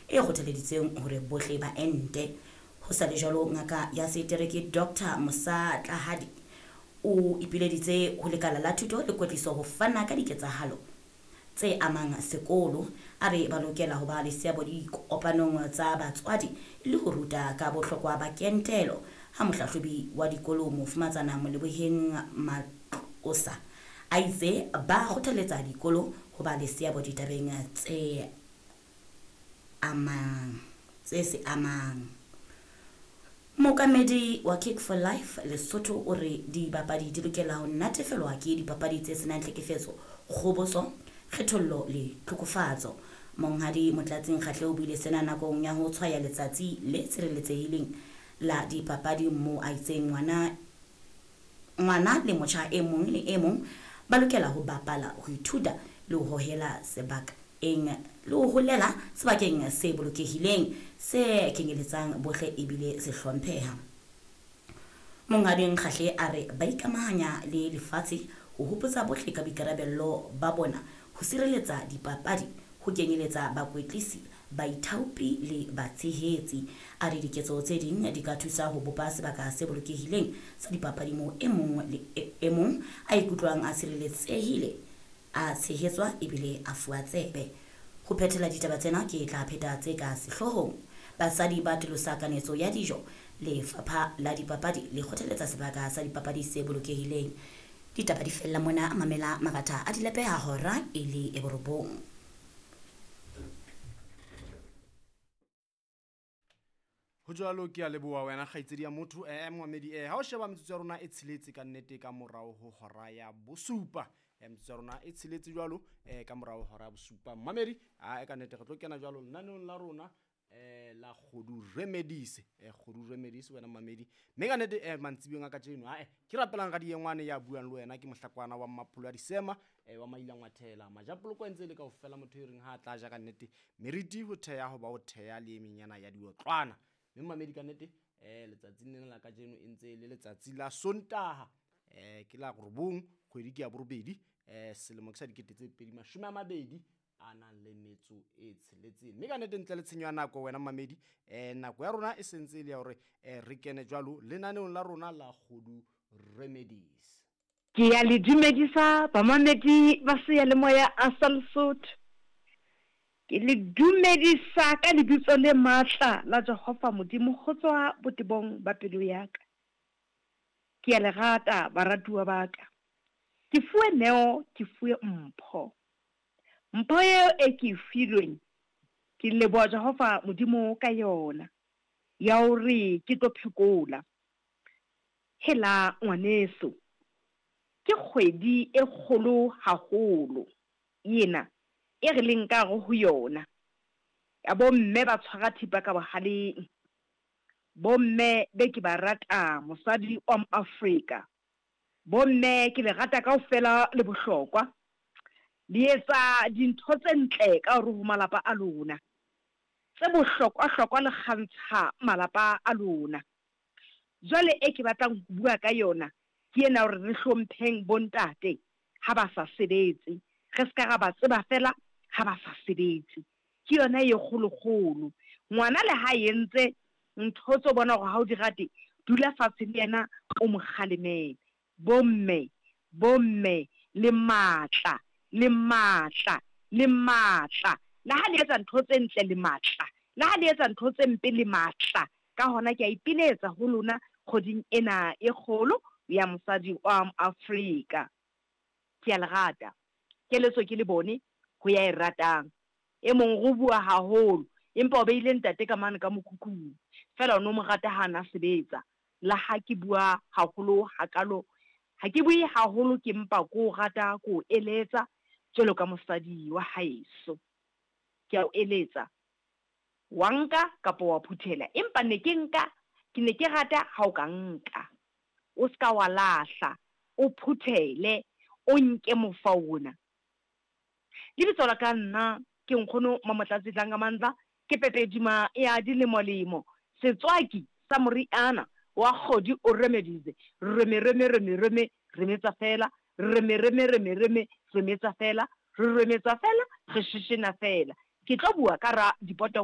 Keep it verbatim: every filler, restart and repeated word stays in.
e kgothaleditseng hore bohle ba ente. Ho sa le jwalo, ngaka ya setereke Doctor Musa Tlahadi o ipileditse ho lekala la thuto le kwetliso ho fana ka diketsahalo tse amang sekolo. A re ba lokela ho ba le seabo dikopanong tsa batswadi le ho ruta ka bohlokwa ba kentelo. Ha mohlahlobi wa dikolo Mofumatsana Moleboheng Matlosa a itse ba kgothaletsa dikolo ho ba le seabo ditabeng tse amang tse se amang. Mookamedi wa Kick for Life Lesotho o re dibapadi di lokela ho natefelwa ke dipapadi tse senang tlhekefetso, kgoboso, kgethollo le tlhokofatso. Monghadi Motlatsing Kgatle o buile sena nakong ya ho tshwaya letsatsi le tshireletsehileng la dipapadi moo a itseng ngwana ngwana le motjha e mong le e mong ba lokela ho bapala, ho ithuta le ho hohela sebakeng le ho holela sebakeng se bolokehileng se kenyeletsang bohle ebile se hlompheha. Monghadi Nkgahle a re ba ikamahanya le lefatshe ho hopotsa bohle ka boikarabello ba bona ho sireletsa dipapadi, ho kenyeletsa bakwetlisi, baithaopi le batshehetsi. A re diketso tse ding di ka thusa ho bopa sebaka se bolokehileng sa dipapadi moo e mong le e mong a ikutlwang a sireletsehile, a tshehetswa ebile a fuwa tsebe. Ho phethela ditaba tsena ke tla pheta tse ka sehloohong. Basadi ba atolosa kanetso ya dijo. Lefapha la dipapadi le kgothaletsa sebaka sa dipapadi se bolokehileng. Ditaba di fella mona, mamela maratha a dilepeha hora e le e borobong. Ho jwalo, ke a leboha wena kgaitsedi ya motho. Eh momamedi, eh ha o sheba metsotso ya rona e tsheletse ka nnete ka morao ho hora ya bosupa. Eh metsotso ya rona e tsheletse jwalo eh ka morao ho hora ya bosupa. Momamedi, a e ka nnete re tlo kena jwalo lenaneong la rona eh la Kgodu Remedies. Eh Kgodu Remedies wena momamedi. Mme ka nnete eh mantsibuyeng a kajeno ha eh ke rapelang ka diengwane ya buang le wena ke mohlakwana wa Mmapholo a Disema eh wa Mailangwathela. Majapoloko a ntse le kaofela motho e reng ha a tla ja ka nnete meriti ho theha ho ba ho theha le e menyana ya diotlwana. Mme mamedi ka nnete eh letsatsing lena la kajeno e ntse le letsatsi la Sontaha eh ke la robong kgwedi ke ya borobedi eh selemo ke sa dikete tse pedi mashome a mabedi a nang le metso e tsheletseng. Mme ka nnete ntle le tshenyo ya nako wena mamedi eh nako ya rona e sentse e le ya hore eh re kene jwalo lenaneong la rona la Kgodu Remedies. Ke ya le dumedisa bamamedi ba seyalemoya a sa Lesotho. Ke le dumedisa ka lebitso le matla la Jehova Modimo ho tswa botebong ba pelo ya ka. Ke a le rata baratuwa ba ka. Ke fuwe neo, ke fuwe mpho. Mpho eo e ke e filweng, ke leboha Jehova Modimo ka yona ya hore ke tlo phekola. Hela ngwaneso, ke kgwedi e kgolo haholo ena e re leng ka hare ho yona. Ya bomme ba tshwara thipa ka bohaleng. Bomme be ke ba rata mosadi wa Afrika. Bomme ke le rata kaofela le bohlokwa. Le etsa dintho tse ntle ka hore ho malapa a lona. Tse bohlokwa-hlokwa le kgantsha malapa a lona. Jwale e ke batlang ho bua ka yona ke ena hore re hlompheng bontate ha ba sa sebetse. Re ska ra ba tseba fela ha ba sa sebetse. Ke yona e kgolokgolo. Ngwana le ha entse ntho tse o bona hore ha o di rate, dula fatshe le yena o mo kgalemele. Bomme, bomme le matla, le matla, le matla. Le ha le etsa ntho tse ntle le matla, le ha le etsa ntho tse mpe le matla. Ka hona ke a ipiletsa ho lona kgweding ena e kgolo ya mosadi wa Afrika. Ke a le rata. Keletso ke le bone ho ya e ratang. E mong go bua haholo empa o beile ntate ka mane ka mokhukhung. Fela o no mo rata ha na sebetsa. La ha ke bua haholo hakalo, ha ke bue haholo ke mpa ko rata ko eletsa jwalo ka mosadi wa haeso. Ke a o eletsa. Wa nka kapa wa phuthela, empa ne ke nka, ke ne ke rata ha o ka nka. O ska wa lahla, o phuthele, o nke mofa ona. Lebitso la ka nna ke nkgono Mamotlatsi Dlangamandla, ke pepedima ya dilemolemo, setswaki sa moriana wa Kgodu o Remedies. Reme reme reme reme remetsa fela, reme reme reme reme remetsa fela, re remetsa fela, re shishina fela. Ke tlo bua ka ra dipotongwane.